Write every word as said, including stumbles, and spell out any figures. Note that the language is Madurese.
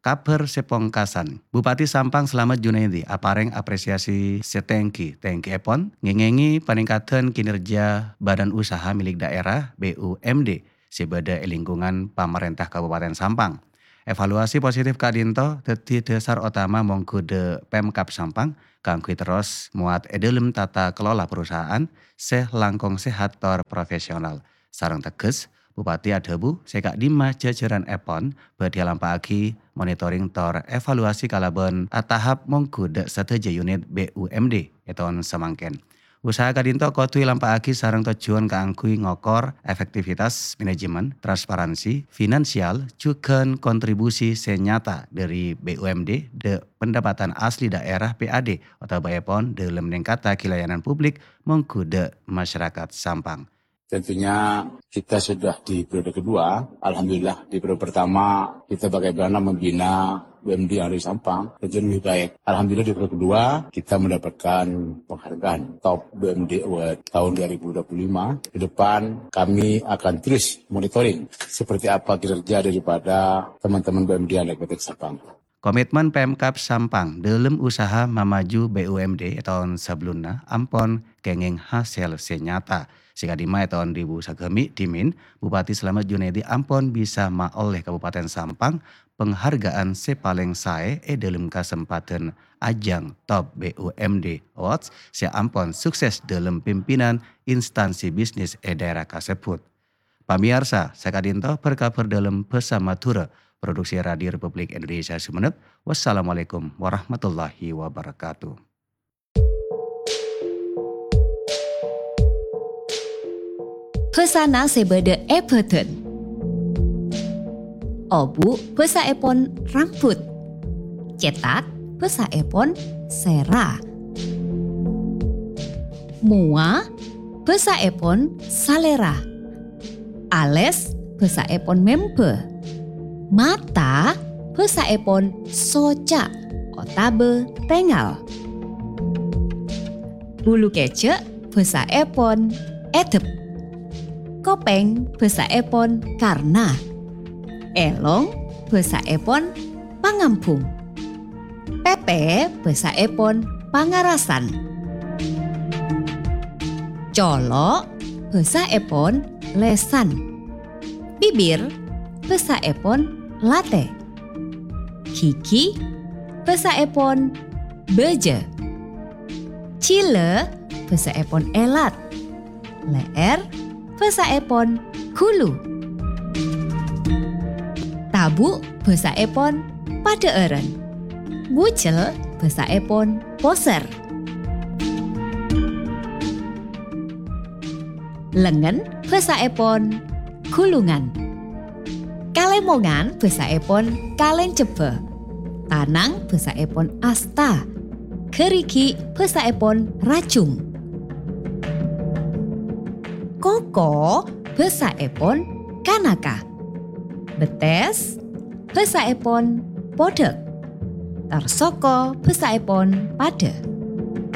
Kabhâr sè pongkasan, Bupati Sampang Slamet Junaidi aparèng apresiasi sè tèngghi-tèngghièpon ngèngèngè panèngkaddhân kinerja badan usaha milik daerah, B U M D, sè bâdâ è lingkungan pamarènta Kabupaten Sampang. Evaluasi positif ka'dinto dhâddhi dhâsar otama mongghu dâ' Pemkab Sampang kaangghuy terros mowat è dâlem tata kelola perusahaan sè langkong sehat tor profesional. Sareng tegghes, Bupati adhâbu sè ka'dimma jhâjhârânèpon bhâdhi alampa'aghi monitoring tor evaluasi kalabân atahap mongghu dâ' sadhâjâ unit B U M D è taon samangkèn. Usaha ka'dinto kodhu èlampa'aghi sareng tojjhuwân kaangghuy ngokor efektivitas manajemen, transparansi finansial, jhughân kontribusi sè nyata dâri B U M D dâ' pendapatan asli daerah P A D otabâèpon dâlem nèngkattaghi layanan publik mongghu dâ' masyarakat Sampang. Tentunya kita sudah di periode kedua. Alhamdulillah, di periode pertama kita bagaimana membina B U M D yang ada di Sampang, tentunya lebih baik. Alhamdulillah, di periode kedua kita mendapatkan penghargaan Top B U M D Award tahun dua ribu dua puluh lima. Ke depan kami akan terus monitoring seperti apa kinerja daripada teman-teman B U M D yang ada di Kota Sampang. Komitmen Pemkab Sampang dâlem usaha mamaju B U M D è taon sabellunna ampon kèngèng hasèl sè nyata. Sè ka'dimma è taon dhu èbu sagâmè' dhimèn, Bupati Slamet Junaidi ampon bisa maollè Kabupaten Sampang penghargaan sè palèng saè è dâlem kasempadhân ajang Top B U M D Awards sè ampon sukses dâlem pimpinan instansi bisnis è daerah kasebbhut. Pamèyarsa, saka'dinto bhâr-kabhâr dâlem bhâsa Madhurâ, produksi Radio Republik Indonesia Sumenep. Wassalamualaikum warahmatullahi wabarakatuh. Bhâsana sè bâdâ è bhâdhân. Obu' bhâsaèpon rambut. Cètak bhâsaèpon sèra. Mowa bhâsaèpon salèra. Alès bhâsaèpon mèmbâ. Mata bhâsaèpon soca' otabâ tèngal. Bulu kèjhâ' bhâsaèpon èdep. Kopèng bhâsaèpon karna. Èlong bhâsaèpon pangambhung. Pèpè bhâsaèpon pangarasan. Colo' bhâsaèpon lèsan. Bibir bhâsaèpon latè. Ghighi bhâsaèpon bâjâ. Jhilâ bhâsaèpon èlat. Lè'èr bhâsaèpon ghulu. Tabu' bhâsaèpon padhâ'ârân. Bujel bhâsaèpon posèr. Lengngen bhâsaèpon ghulungan. Kalèmongan bhâsaèpon kalèncebbhâ. Tanang bhâsaèpon asta. Ghârighi' bhâsaèpon rajung. Koko bhâsaèpon kanaka. Bettès bhâsaèpon podhâk. Tarsoko bhâsaèpon padâ.